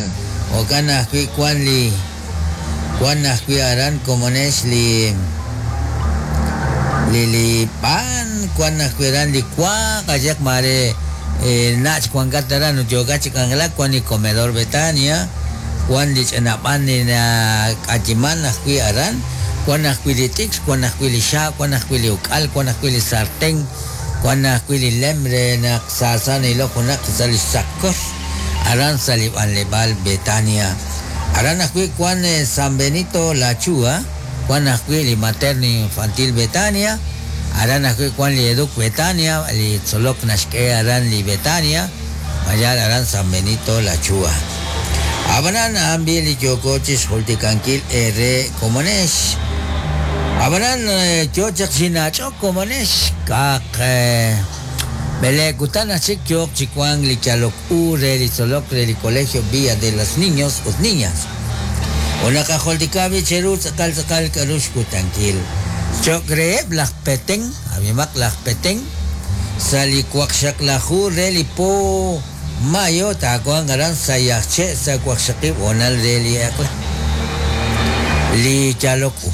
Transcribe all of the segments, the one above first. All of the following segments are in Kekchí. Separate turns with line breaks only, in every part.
Mayal jo'kan ajwi' wan li wan ajwi' aran komonex li li li b'an wan ajwi' aran li wa qayehaq maare nach' wankat aran ut yookat chi k'anjelak wan li comedor Betania wan li ch'ina b'an li nak'ayiman ajwi' aran wan ajwi' li t'ikr wan ajwi' li xaab' wan ajwi' li uk'al wan ajwi' li sarten wan ajwi' li lem re naq saasa na'ilok junaq sa' li xtz'aqkor aran sa' li b'anleb'aal Betania. Aran ajwi' wan San Benito La Chua, wan ajwi' li Materno Infantil Betania, aran ajwi' wan li Educ Betania, li tzolok naxk'e aran li Betania, mayal aran San Benito La Chua. Ab'anan a'an b'i' li yooko chi xjultikankil eere komonex. Ab'anan yo chaq chi nach'ok komonex ka'aq b'eleeb' kutan aj chik yooq chi wank li yalok u re li tzolok re li Colegio Villa de las Niños ut Niñas. Ut naqajultika b'i' cheru tz'aqal tz'aqal k'a'ru xkutankil. Cho'q reheb' laj Petén, ab'imaq laj Petén, sa' li waqxaqlaju re li po mayo taawanq aran sa' Yajche' sa' waqxaqib' hoonal re li eq'la. Li yalok u.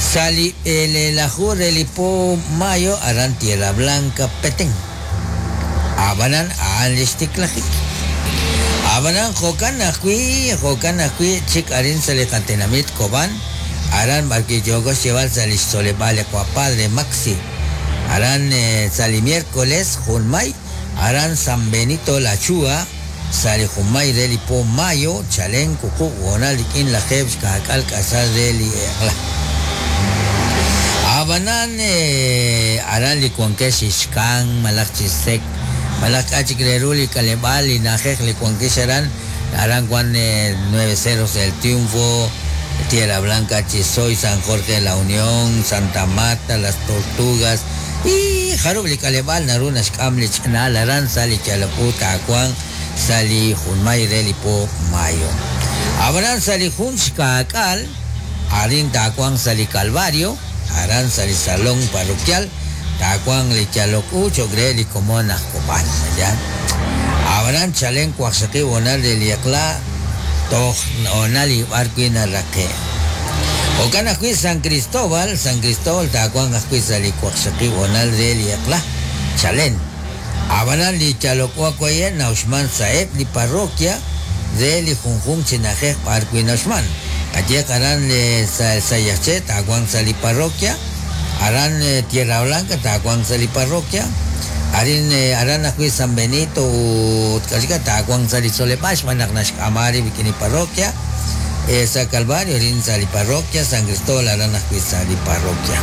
Sa' li b'eleelaju re li po mayo aran Tierra Blanca, Petén. A'b'anan a'an li xtiklajik. A'b'anan jo'kan ajwi', jo'kan ajwi' chik arin sa' li qatenamit Cobán, aran b'arwi' yooko xyeeb'al sa' li xtzoleb'aal li Qawa' Padre Maxi, aran sa' li miércoles junmay, aran San Benito La Chua, sa' li junmay re li po mayo, chalen wuqub' hoonal rik'in lajeeb' xkaak'al k'asal re li eq'la. A'b'anan aran li wankex chi xkan malaj chi sek malaj k'a' chik re ru li k'aleb'aal li na'ajej li wankex aran, aran wan Nueve Cerros El Triunfo, Tierra Blanca, Chisoy, San Jorge La Unión, Santa Marta, Las Tortugas y jarub' li k'aleb'aal naru naxk'am li ch'ina'al aran sa' li yalok u taawanq sa' li junmay re li po mayo. Ab'anan sa' li jun xkaak'al, arin taawanq sa' li Calvario, aran sa' li Salón Parroquial, taawanq li yalok u cho'q re li komon aj Cobán. Mayal. Ab'anan chalen waqxaqib' hoonal re li eq'la toj hoonal li b'ar wi' naraqe'. Jo'kan ajwi' San Cristóbal, San Cristóbal taawanq ajwi' sa' li waqxaqib' hoonal re li eq'la, chalen. Ab'anan li yalok u awaye' na'uxman sa'eb' li parroquia re li junjunq chi na'ajej b'ar wi' na'uxman. Qayehaq aran sa' Sayaxche taawanq sa' li parroquia, aran Tierra Blanca taawanq sa' li parroquia, arin aran ajwi' San Benito ut k'axika taawanq sa' li tzoleb'aal xb'aan naq naxk'ama rib' rik'in li parroquia, sa' Calvario arin sa' li parroquia, San Cristóbal aran ajwi' sa' li parroquia.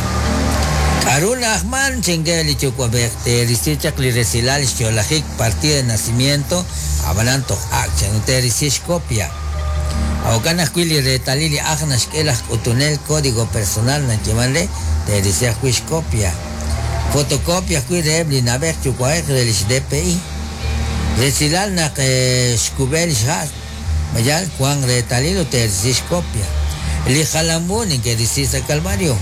K'a'ru na'ajman? Chink'e li yuwa'b'ej teerisi chaq li resilal xyo'lajik, partida de nacimiento, ab'anan toj ak' chan ut teerisi xkopia. Jo'kan ajwi' li reetalil li ajl naxk'e laj k'utunel, código personal nayeeman re, teerisi ajwi' xkopia. Fotocopia ajwi' reheb' li na'b'ej yuwa'ej re lix DPI. Resilal naq xkub'e lix ha'. Ma yal wank reetalil ut teerisi xkopia li jalam u neke'risi sa' Calvario?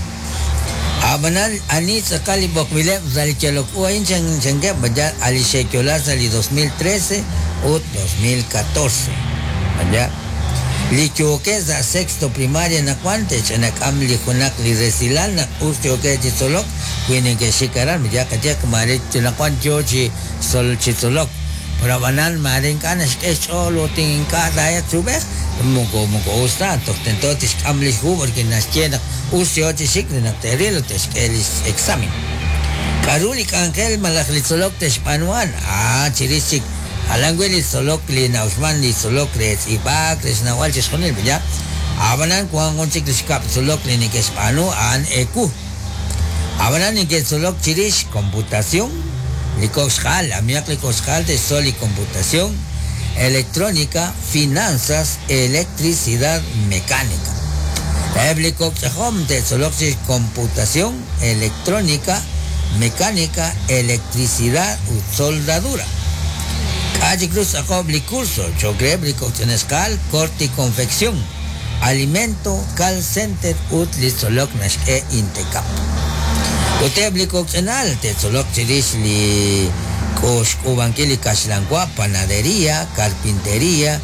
A'b'anan, ani tz'aqal li b'oqb'ileb' sa' li yalok u a'in chankeb'? Ma yal a' li xe'yo'la sa' li 2013 ut 2014? Ma yal li yookeb' sa' sexto primaria anaqwan te'ch'anak'am li junaq li resilal naq us yookeb' chi tzolok wi neke'xik aran? Ma yal qayehaq maare anaqwan yoo chi chi tzolok. Pero ab'anan maare ink'a' naxk'e xch'ool ut ink'a' taa'elq chi ub'ej, moko moko us ta, toj tento tixk'am li xhu porque naxye naq us yo chi xik re naq te'ril ut te'xk'e li x-examen. K'a'ru li k'anjel malaj li tzolok te'xb'aanu a'an? Ah, chirix chik jalan wi' li tzolok li na'uxman, li tzolok re tz'iib'ak, re xnawb'al chixjunil, ya. Ab'anan wan jun chik li xkab' tzolok li neke'xb'aanu a'an ewu. Ab'anan neke'tzolok chirix computación, li kok' xq'aal, amihaq li kok' xq'aal te'xtzol li computación, electrónica, finanzas, electricidad, mecánica. Eb' li kok' ch'ajom te'tzoloq chirix computación, electrónica, mecánica, electricidad ut soldadura. K'a' chik ru xtz'aqob' li curso cho'q reheb' li kok' ch'ina xq'aal, corte y confección. Alimento, Call Center ut li tzolok naxk'e Intecap. Ut eb' li kok' ch'ina'al te'tzoloq chirix li xk'uub'ankil li kaxlanwa, panaderia, carpinteria,